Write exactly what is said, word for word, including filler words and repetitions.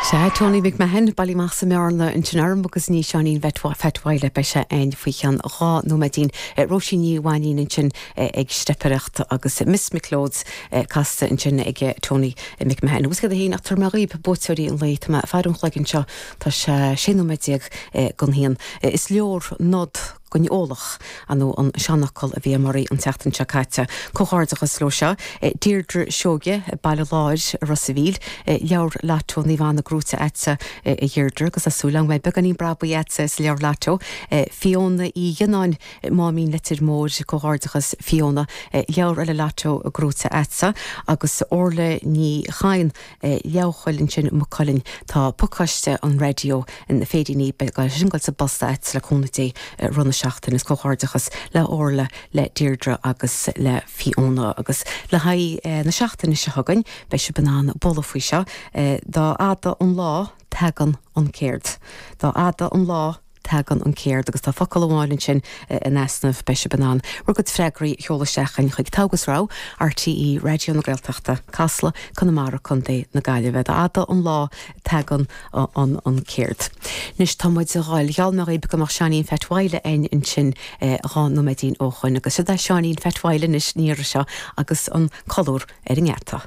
Sea, Tony McMahon, bailithe amach sa mBearna ansin orm agus ní Seáinín Pheait Mhaidhc beidh sé againn faoi cheann dhá nóiméidín. Róisín Ní Mhainín ansin ag steipireacht agus Miss McLeod's casta ansin ag Tony McMahon. Agus cad a haon ach tar mé dhaoib buaiteoirí an lae tá mé ag faire an chloig anseo tá sé sé nóiméad déag don haon. Is leor nod don eolach nó an seanfhocal a bhí anuraidh an tseachtain seo caite. Comhghairdeachas leo seo, Deirdre Seoige, Baile Láir Ros an Mhíl, leabhar Lotto Naomh Anna gnóite agatsa a Dheirdre agus asú le mé beagáinín brabaigh agatsa sa leabhar Lotto, Fiona Uí Dhéanáin Máimín Leitir Móir comhghairdeachas Fiona, leabhar eile Lotto gnóite agatsa agus Orla Ní Chain Leabhchoil ansin Maigh Cuilinn tá pacáiste an raidió na féiríní sin go sa bpost agat le cúnamh Dé rith na seachtaine is comhghairdeachas le Orla le Deirdre agus le Fiona agus le haghaidh na seachtaine seo chugainn beidh sibh in ann bualadh faoi seo dá fhada an lá tagann an céard. Dá fhada an lá tagann an céard agus tá focal amháin ansin in easnamh beidh sibh in ann bhur gcuid freagraí a sheoladh isteach chuig Togha agus Rogha RTÉ Raidió na Gaeltachta Casla Conamara Contae na Gaillimhe dá fhada an lá tagann an an céard. Anois tá muid ag gabháil gheall mé dhaoib go mbeadh Seáinín Pheait Mhaidhc againn ansin dhá nóiméidín ó shoin agus seo é Seáinín Pheait Mhaidhc anois ní seo agus an colúr ar an ngeata.